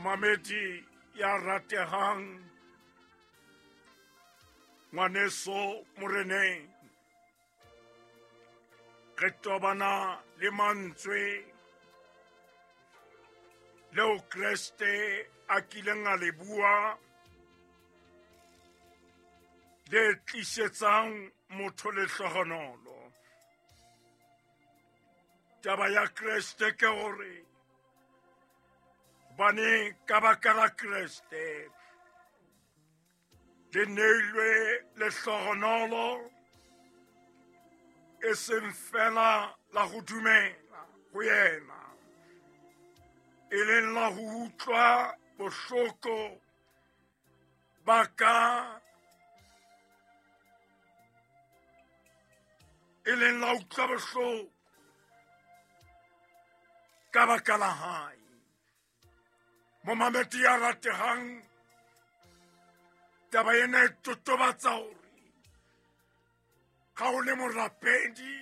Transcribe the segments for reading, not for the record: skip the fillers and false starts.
Momamedi ya ratehang, ngwaneso moreneng, re tobana le mantswe leo Kreste a kileng a le bua le tlisetsang motho lehlohonolo. Taba ya Kreste ke hore bane ka baka la Kreste le neilwe lehlohonolo e seng fela la go dumela go yena, e leng la go utlwa bohloko ba ka, e leng la utlwa bohloko ka baka la hae. Momamedi ya ratehang, taba ena e totobatsa hore ga o le morapedi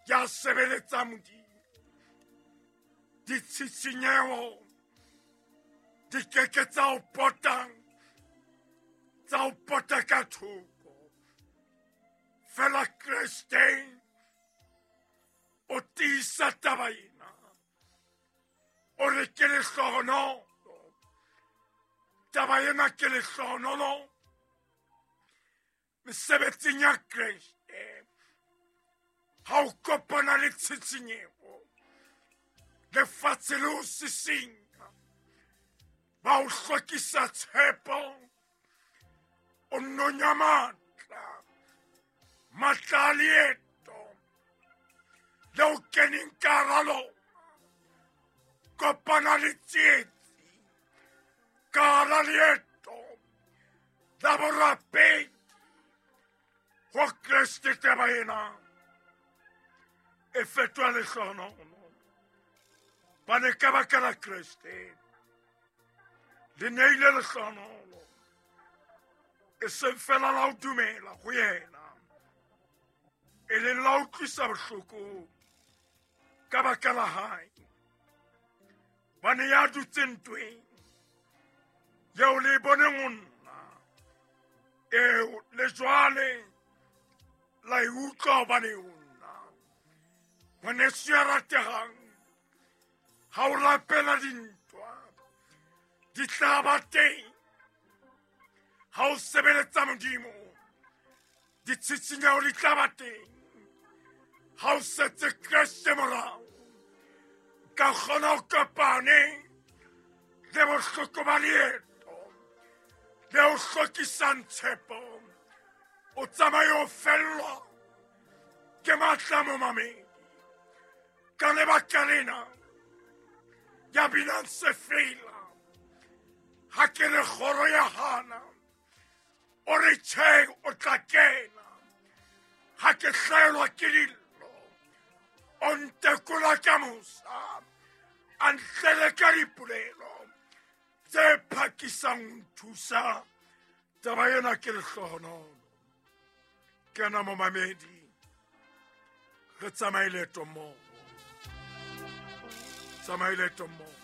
ya sebeletsa Modimo, ditshitshinyeho di keke tsa o potang, tsa o pota ka thoko. Fela Kreste o tiisa taba ena, o re ke lehlohonolo. Taba ena ke lehlohonolo mesebetsing ya Kreste. Ha o kopana le tshitshinyeho, lefatshe le o sisinya, ba o hlokisa tshepo, o nonya matla, matla a leeto le o keneng ka hara lona. Kopana le tsietsi ka hara leeto la borapedi ho Kreste. Taba ena e fetoha lehlohonolo, bane ka baka la Kreste le neile lehlohonolo e seng fela la ho dumela go yena, e leng la utlwisa bohloko ka baka la hae. Bane ya dutseng ntweng eo le e boneng ho nna, eo le jwale la e utlwa hobane ho nna. Ngwaneso ya ratehang, ha o rapela dintwa di tla ba teng. Ha o sebeletsa Modimo, ditshitshinyeho di tla ba teng. Ha o setse Kreste morao, ka kgona ho kopane le bohloko ba leeto le o hlokisang tshepo, o tsamaye o fellwa ke matla momamedi. Ka lebaka lena ya binang sefela, ha ke re kgoro ya hana, o re tjhe o tla kena. Ha ke hlaelwa ke dillo, o ntekola ka mosa, a ntlele ka dipolelo tse phakisang ho nthusa. Taba ena ke lehlohonolo. Kena momamedi, re tsamaye leeto mmoho, tsamaye leeto mmoho.